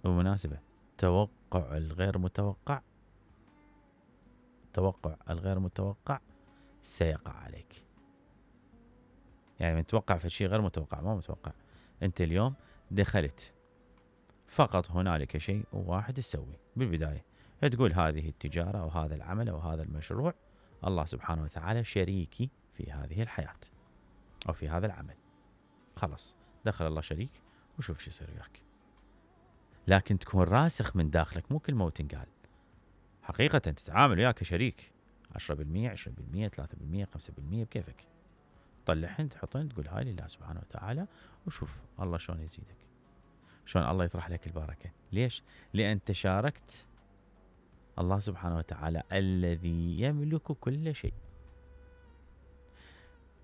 بالمناسبة توقع الغير متوقع سيقع عليك. يعني من توقع في شيء غير متوقع، ما متوقع. انت اليوم دخلت فقط هنالك شيء واحد تسوي بالبداية، تقول هذه التجارة أو هذا العمل أو هذا المشروع الله سبحانه وتعالى شريكي في هذه الحياة أو في هذا العمل. خلاص دخل الله شريك وشوف شو يصير وياك. لكن تكون راسخ من داخلك، مو كل ما تنقال. حقيقة تتعامل وياك كشريك 10%، 20%، 3%، 5% بكيفك. طلعهن تحطهن تقول هاي لله سبحانه وتعالى، وشوف الله شلون يزيدك، شلون الله يطرح لك البركة. ليش؟ لأن تشاركت الله سبحانه وتعالى الذي يملك كل شيء.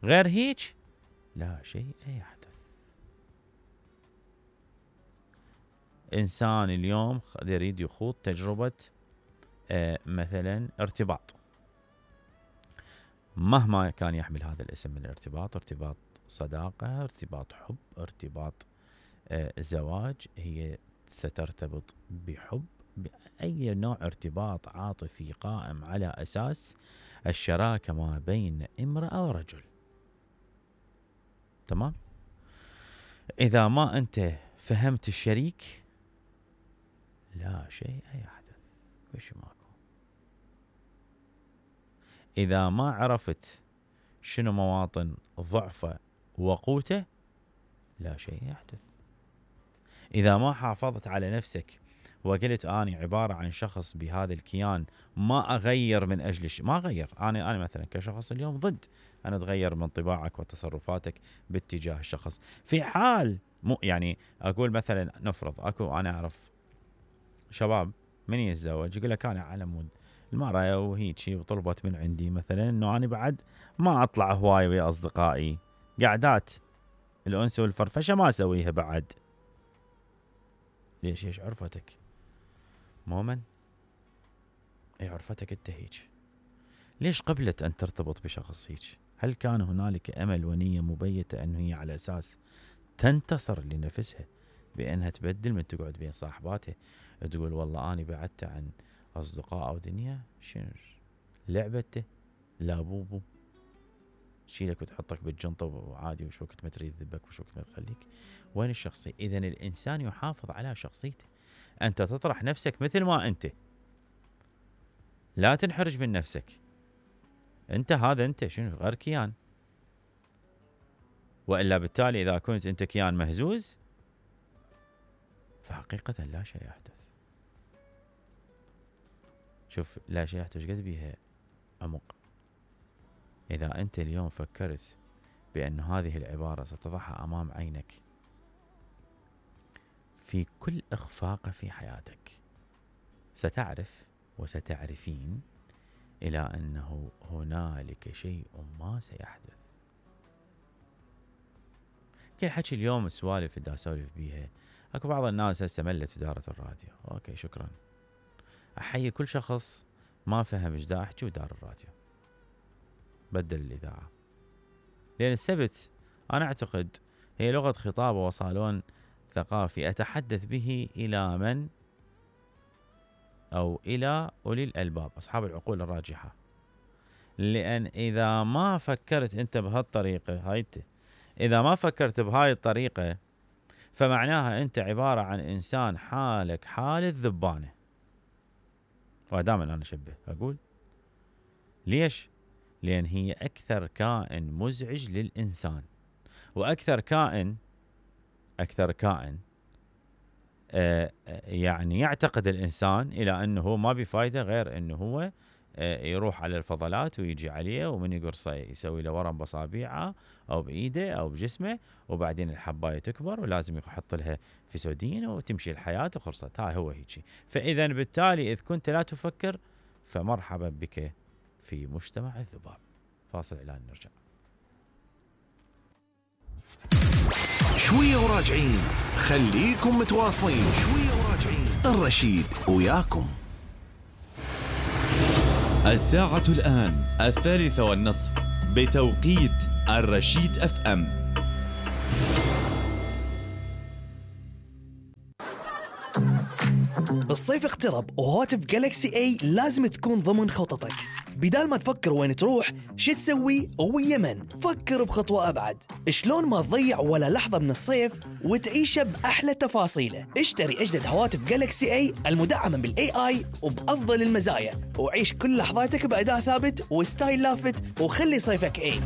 غير هيك لا شيء يحدث. إنسان اليوم يريد يخوض تجربة مثلا ارتباط، مهما كان يحمل هذا الاسم من الارتباط، ارتباط صداقة، ارتباط حب، ارتباط زواج، هي سترتبط بحب، بأي نوع ارتباط عاطفي قائم على أساس الشراكة ما بين امرأة ورجل. تمام؟ إذا ما أنت فهمت الشريك لا شيء يحدث، وش ماكو. إذا ما عرفت شنو مواطن ضعفه وقوته لا شيء يحدث. إذا ما حافظت على نفسك وقلت أنا عبارة عن شخص بهذا الكيان ما أغير من أجل ما أغير. أنا مثلا كشخص اليوم ضد أن أتغير من طباعك وتصرفاتك باتجاه الشخص. في حال مو يعني أقول مثلا نفرض أنا أعرف شباب من يتزوج يقول لك أنا على مود المرأة وهيجي وطلبت من عندي مثلا إنه أنا بعد ما أطلع هواي ويا أصدقائي، قعدات الأنس والفرفشة ما أسويها بعد. ليش؟ ايش عرفتك؟ مؤمن؟ اي عرفتك انت هيك؟ ليش قبلت ان ترتبط بشخص هيك؟ هل كان هنالك امل ونية مبيتة انه هي على اساس تنتصر لنفسها بانها تبدل من تقعد بين صاحباتها تقول والله اني بعدت عن اصدقاء او دنيا؟ شنو لعبته؟ لا بوبو تشيلك وتحطك بالجنطة وعادي، وش وقت ما تريد ذبك وش وقت ما تخليك. وين الشخصية؟ إذن الإنسان يحافظ على شخصيته. أنت تطرح نفسك مثل ما أنت، لا تنحرج من نفسك. أنت هذا أنت شنو غير كيان، وإلا بالتالي إذا كنت أنت كيان مهزوز فحقيقة لا شيء يحدث. شوف لا شيء يحدث قد بيها عمق. إذا أنت اليوم فكرت بأن هذه العبارة ستضعها أمام عينك في كل إخفاق في حياتك، ستعرف وستعرفين إلى أنه هنالك شيء ما سيحدث. كل حكي اليوم السوالف اللي أسولف بيها، أكو بعض الناس هسه ملت إدارة الراديو. أوكي شكرا، أحيي كل شخص ما فهم إيش دا أحكي ودار الراديو بدل الإذاعة، لأن السبت أنا أعتقد هي لغة خطاب وصالون ثقافي أتحدث به إلى من أو إلى أولي الألباب، أصحاب العقول الراجحة. لأن إذا ما فكرت أنت بهالطريقة إذا ما فكرت بهاي الطريقة فمعناها أنت عبارة عن إنسان حالك حال الذبانة. ودائما أنا أشبه أقول ليش؟ لأن هي أكثر كائن مزعج للإنسان، وأكثر كائن يعني يعتقد الإنسان إلى أنه ما بفايدة غير أنه هو يروح على الفضلات ويجي عليه ومن يقرصه يسوي له ورم بصابيعه أو بإيده أو بجسمه، وبعدين الحباية تكبر ولازم يحط لها فسودين وتمشي الحياة وخلصت. هاي هو هيجي. فإذا بالتالي إذ كنت لا تفكر فمرحبا بك في مجتمع الذباب. فاصل إعلان نرجع. شوية وراجعين، خليكم متواصلين. شوية وراجعين، الرشيد وياكم. الساعة الآن 3:30 بتوقيت الرشيد FM. الصيف اقترب وهواتف جالكسي اي لازم تكون ضمن خططك. بدال ما تفكر وين تروح شو تسوي ويا من، فكر بخطوة أبعد. شلون ما تضيع ولا لحظة من الصيف وتعيشه بأحلى تفاصيله. اشتري أجدد هواتف جالكسي اي المدعمة بالاي اي وبأفضل المزايا، وعيش كل لحظاتك بأداء ثابت وستايل لافت، وخلي صيفك اي.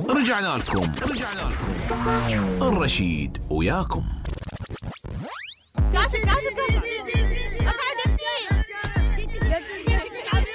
رجعنا لكم الرشيد وياكم.